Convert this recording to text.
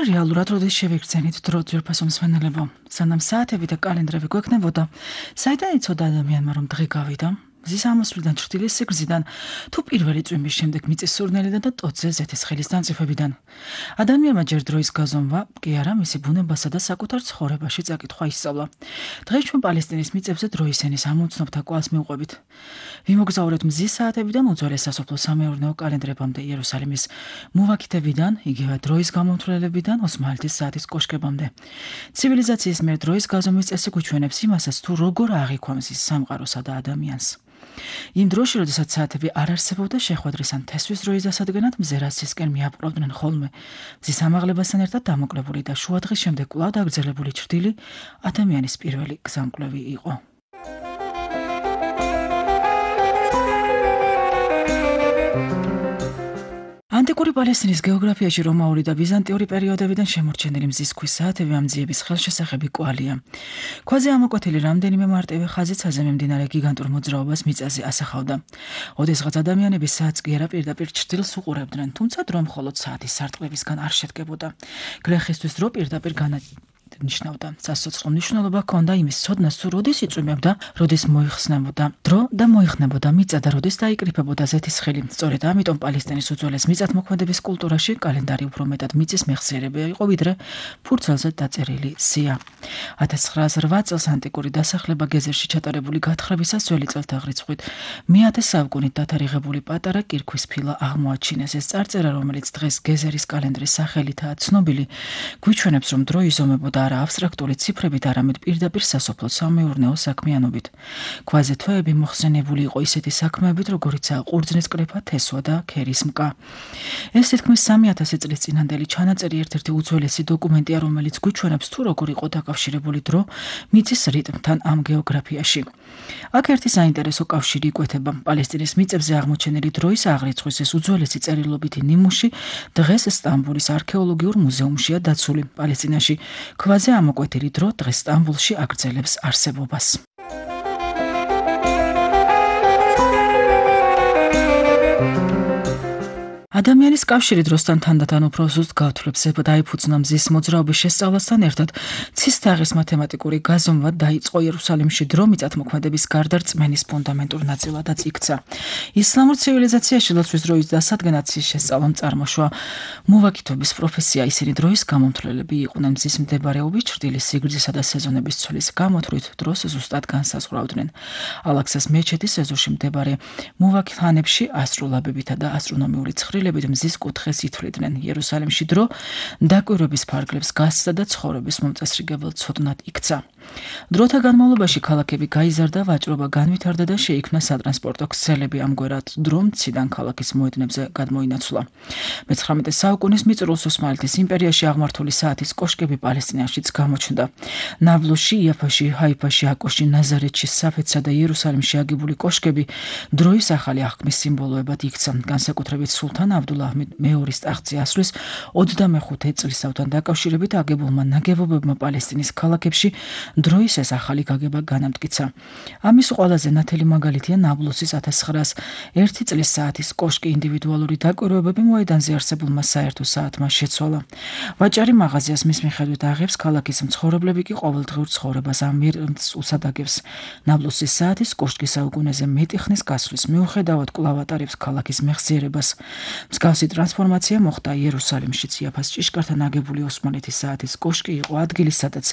რეალურად როდის შევიგრძენით დრო ძვირფასო მსმენელებო, სანამ საათები და კალენდრები გვექნებოდა, საიდან იცოდა ადამიანმა რომ დღე გავიდა? მზის ამოსვლიდან ჩრდილის სიგრძიდან, თუ პირველი წვიმის შემდეგ მიწის სურნელიდან და ტოტზე ზეთის ხელის დამწიფებიდან. ადამიანმა ჯერ დროის გაზომვა, კი არა მისი ბუნებასა და საკუთარ ცხოვრებაში წაკითხვა ისწავლა. დღეს ჩვენ პალესტინის მიწებზე დროის ენის ამომცნობთა კვალს მივყვებით. ვიმოგზაურეთ მზის საათებიდან უძველეს სასოფლო სამეურნეო კალენდრებამდე იერუსალიმის მუვაქითებიდან, იგივე დროის გამომთვლელებიდან ოსმალეთის საათის კოშკებამდე. ცივილიზაციის მიერ დროის გაზომვის წესი გვიჩვენებს იმასაც, თუ როგორ აღიქვა მზის სამყაროსა და ადამიანს. იმ დროში, როდესაც საათები არ არსებობდა შეხვედრის ან თესვის დროის დასადგენად, მზერასისკენ მიაპყრობდნენ ხოლმე. მზის ამაღლებასთან ერთად დამოკლებული და შუადღის შემდეგ კვლავ დაგრძელებული ჩრდილი ადამიანის პირველი გზამკვლევი იყო. ანტიკური პალესტინის გეოგრაფიაში რომაული და ბიზანტიური პერიოდებიდან შემორჩენილი მზის ქვის საათები ამ ძიების ხელშესახები კვალია. ქვაზე ამოკვეთილი რამდენიმე მარტივი ხაზიცაზე მიმდინარე გიგანტურ მოძრაობას მიწაზე ასახავდა. ოდესღაც ადამიანები საათს კი არა პირდაპირ ჩრდილს უყურებდნენ, თუმცა დრო მხოლოდ საათის სარტყლებისგან არ შედგებოდა. გლეხისთვის დრო პირდაპირ ნიშნავდა. სასოცხლო მნიშვნელობა ჰქონდა იმის ცოდნას, თუ როდის იწვიმებდა, როდის მოიხსნებოდა დრო და მოიხნებოდა მიწა და როდის დაიკრიფებოდა ზეთის ხელი. სწორედ ამიტომ პალესტინის უძველეს მიწათმოქმედების კულტურაში კალენდარი უფრო მეტად მიწის მეხსიერება იყო, ვიდრე ფურცელზე დაწერილი სია. 1908 წელს ანტიკური დასახლება გეზერში ჩატარებული გათხრებისას ძველი წელთა რიცხვით მე-10 საუკუნით დათარიღებული პატარა კირქვის ფილა აღმოაჩინეს. ეს წარწერა, რომელიც დღეს გეზერის კალენდრის სახელითაა ცნობილი, გვიჩვენებს, რომ დრო იზომებოდა არა აბსტრაქტული ციფრებით, არამედ პირდაპირ სასოფლო სამეურნეო საქმიანობით. ქვაზე თვეები მოხსენებული იყო ისეთი საქმეებით, როგორიცაა ყურძნის კრეფა, თესვა და ქერის მკა. ეს თითქმის 3000 წლის წინანდელი ჩანაწერი ერთ-ერთი უძველესი დოკუმენტია, რომელიც გვიჩვენებს, თუ როგორ იყო დაკავშირებული დრო მიწის რიტმთან ამ გეოგრაფიაში. აქ ერთი საინტერესო კავშირი იკვეთება. პალესტინის მიწებზე აღმოჩენილი დროის აღრიცხვის ეს უძველესი წერილობითი ნიმუში დღეს სტამბოლის არქეოლოგიურ მუზეუმშია დაცული. პალესტინაში ქვაზე ამოკვეთილი დრო დღეს სტამბოლში აგრძელებს არსებობას. ადამიანის კავშირი დროსთან თანდათან უფრო ზუსტ გათვლებს დაიფუძნა მზის მოძრაობის შესწავლასთან ერთად ცის თაღის მათემატიკური გაზომვა დაიწყო იერუსალიმში დრო მიწათმოქმედების გარდა რწმენის ფუნდამენტურ ნაწილადაც იქცა. ისლამურ ცივილიზაციაში ლოცვის დროის დასადგენად ცის შესწავლამ წარმოშვა მუვაქითობის პროფესია. ისინი დროის გამომთვლელები იყვნენ. მზის მდებარეობის, ჩრდილის სიგრძისა და სეზონების ცვლის გამოთვლით დროს ზუსტად განსაზღვრავდნენ. ალაქსას მეჩეთის ეზოში მდებარე მუვაქითანებში ასტროლაბებითა და ასტრონომიული ცხრილებით მზის კუთხეს ითვლიდნენ. იერუსალიმში დრო დაკვირვების ფარგლებს გასცდა და ცხოვრების მომწესრიგებელ ცოდნად იქცა. დროთა განმავლობაში ქალაქები გაიზარდა, ვაჭრობა განვითარდა და შეიქმნა სატრანსპორტო ქსელები. ამგვარად დრო მციდან ქალაქის მოედნებზე გადმოინაცვლა. მე-19 საუკუნის მიწურულს ოსმალეთის იმპერიაში აღმართული საათის კოშკები პალესტინაშიც გამოჩნდა. ნაბლუსში, იაფაში, ჰაიფაში, აკოში, ნაზარეთში, საფეთსა და იერუსალიმში აგებული კოშკები დროის ახალი აღქმის სიმბოლოებად იქცა. განსაკუთრებით სულთან აბდულაჰმედ მეორის ტახტზე ასვლის 25 წლისთავთან დაკავშირებით აგებულმა ნაგებობებმა პალესტინის ქალაქებში დროის ეს ახალი გაგება განამტკიცა. ამის ყველაზე ნათელი მაგალითია ნაბლუსის 1901 წლის საათის კოშკი. ინდივიდუალური დაკვირვებები მოედანზე არსებულმა საერთო საათმა შეცვალა. ვაჭარი მაღაზიას მის მიხედვით აღებს, ქალაქის მცხოვრებლები კი ყოველდღიურ ცხოვრებას ამ მიზნს უსადაგებს. ნაბლუსის საათის კოშკი საუკუნეზე მეტი ხნის გასვლის მიუხედავად კვლავ ატარებს ქალაქის მეხსიერებას. მსგავსი ტრანსფორმაცია მოხდა იერუსალიმშიც. იაფას ჭიშკართან აგებული ოსმალეთის საათის კოშკი იყო ადგილი, სადაც